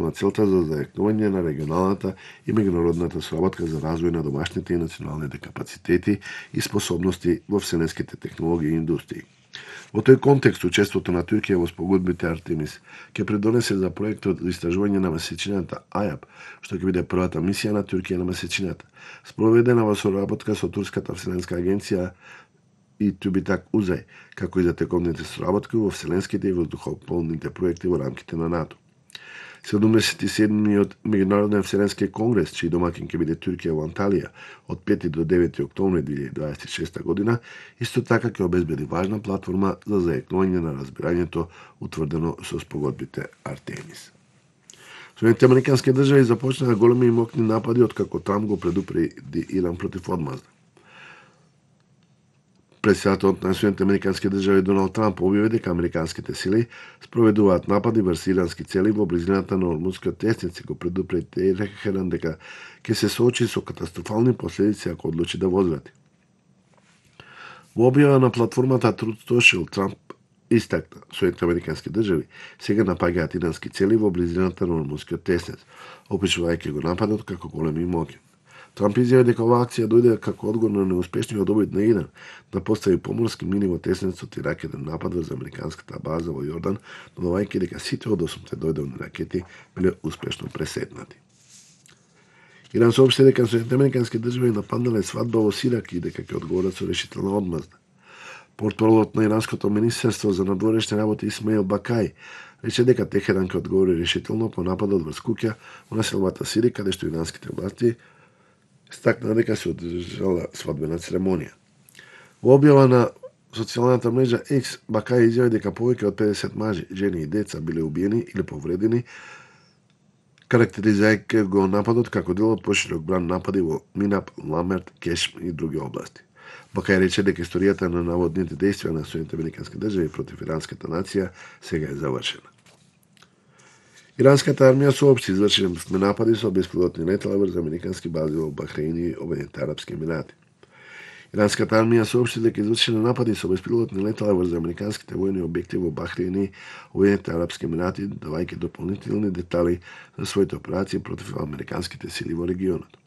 на целта за зајакнување на регионалната и меѓународната соработка за развој на домашните и националните капацитети и способности во вселенските технологии и индустрии. Во тој контекст, учеството на Туркија во спогодбите Артемис ќе придонесе за проектот за истражување на месечината АЈAP, што ќе биде првата мисија на Туркија на месечината, спроведена во соработка со Турската вселенска агенција и Тубитак Узај, како и за тековните соработки во вселенските и воздухопловните проекти во рамките на НАТО. 77-миот Меѓународен вселенски конгрес, чиј домакин ќе биде Туркија во Анталија од 5 до 9 октомври 2026 година, исто така ќе обезбеди важна платформа за зајакнување на разбирањето утврдено со спогодбите Артемис. Соединетите американски држави започнаа големи и мокни напади откако Трамп го предупреди Иран против одмазда. Председателот на Соединетите американски држави Доналд Трамп објави дека американските сили спроведуваат напади врз ирански цели во близината на Ормузскиот тесниц и го предупреди Техеран дека ќе се соочи со катастрофални последици ако одлучи да возврати. Во објава на платформата Truth Social, Трамп истакна Соединетите американски држави сега напаѓаат ирански цели во близината на Ормузскиот тесниц, опишувајќи го нападот како голем и моќен. Трамп изјави дека оваа акција дојде како одговор на неуспешниот обид на Иран да постави поморски мини во тесницот и ракетен напад врз американската база во Јордан, додавајќи дека сите од 8 дојдовни ракети биле успешно пресетнати. Иран соопшти дека Соединетите американски држави нападнале свадба во Сирак и дека ќе одговорат со решителна одмазда. Портпаролот на иранското министерство за надворешни работи Исмаил Бакај рече дека Техеран ќе одговори решително по нападот врз куќа во населбата Сири, каде што иранските власти стакна дека се одржала свадбена церемонија. Во објава на социјалната мрежа X, Бакај изјави дека повеќе од 50 мажи, жени и деца биле убиени или повредени, карактеризирајќи го нападот како дел од поширок бран напади во Минап, Ламерт, Кешм и други области. Бакај рече дека историјата на наводните действија на Соединетите американски држави против иранската нација сега е завршена. Иранската армија соопшти извршени напади со беспилотни летала врз американски бази во Бахреин и Обединетите арапски емирати. Иранската армија соопшти дека извршени напади со беспилотни летала врз американските војни објекти во Бахреин и Обединетите арапски емирати, давајќи дополнителни детали за своите операции против американските сили во регионот.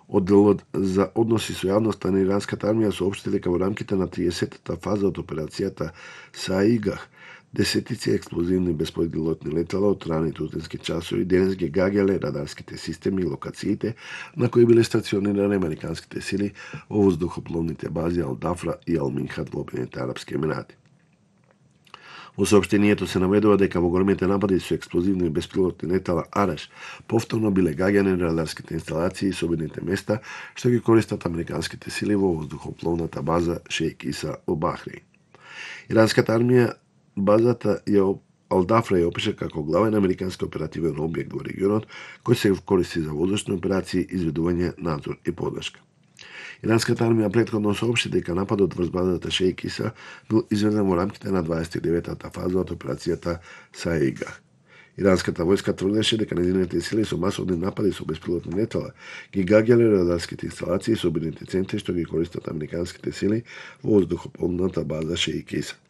Одделот за односи со јавноста на иранската армија соопшти дека во рамките на 30-та фаза од операцијата Саигах десетици експлозивни беспилотни летала од рани тутински часови денес ги гаѓале радарските системи и локациите на кои биле стационирани американските сили во воздухопловните бази Ал-Дафра и Ал-Минхат во Обединетите арапски емирати. Во соопштението се наведува дека во големите напади со експлозивни беспилотни летала Ареш повторно биле гаѓани радарските инсталации и собените места што ги користат американските сили во воздухопловната база Шејк Иса во Бахреин. Иранската армија базата Ал-Дафра ја опиша како главен американски оперативен објект во регионот кој се користи за воздушни операции, изведување, надзор и подршка. Иранската армија претходно соопшти дека нападот врз базата Шејк Иса бил изведен во рамките на 29-та фаза од операцијата Саигах. Иранската војска тврдеше дека нејзините сили со масовни напади со беспилотни летала ги гаѓале радарските инсталации и собените центри што ги користат американските сили во воздухопловната база Шејк Иса.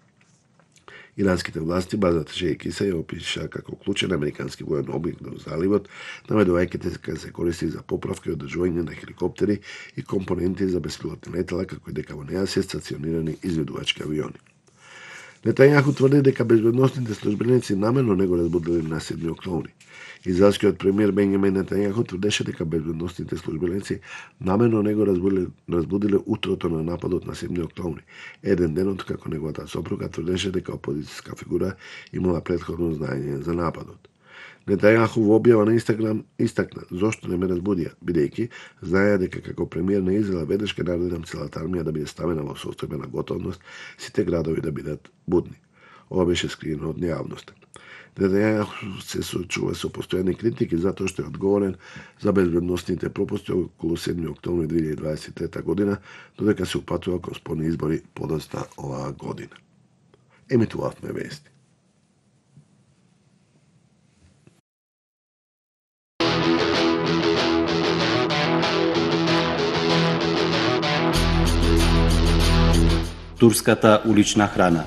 Иранските власти базата Шејк Иса ја опиша како клучен американски воен објект во заливот, наведувајќи дека се користи за поправка и одржување на хеликоптери и компоненти за беспилотни летала, како и дека во неа се стационирани изведувачки авиони. Нетањаху тврди дека безбедносните службеници намерно не го разбудиле на 7 октомври. Израелскиот премиер Бенјамин Нетањаху тврдеше дека безбедносните службеници намерно не го разбудиле утрото на нападот на 7 октомври, еден ден откако неговата сопруга тврдеше дека опозицијска фигура имала претходно знаење за нападот. Нетањаху во објава на Инстаграм истакна зошто не ме разбудија, бидејќи знаеа дека како премиер на Израел веднаш ќе наредам целата армија да биде ставена во состојбена готовност, сите градови да бидат будни. Ова беше скриено од нејавноста. Нетањаху се соочува со постојани критики затоа што е одговорен за безбедносните пропусти околу 7 октомври 2023 година, додека се упатува кон спорни избори подоцна оваа година. Емитувавме вести. Турската улична храна.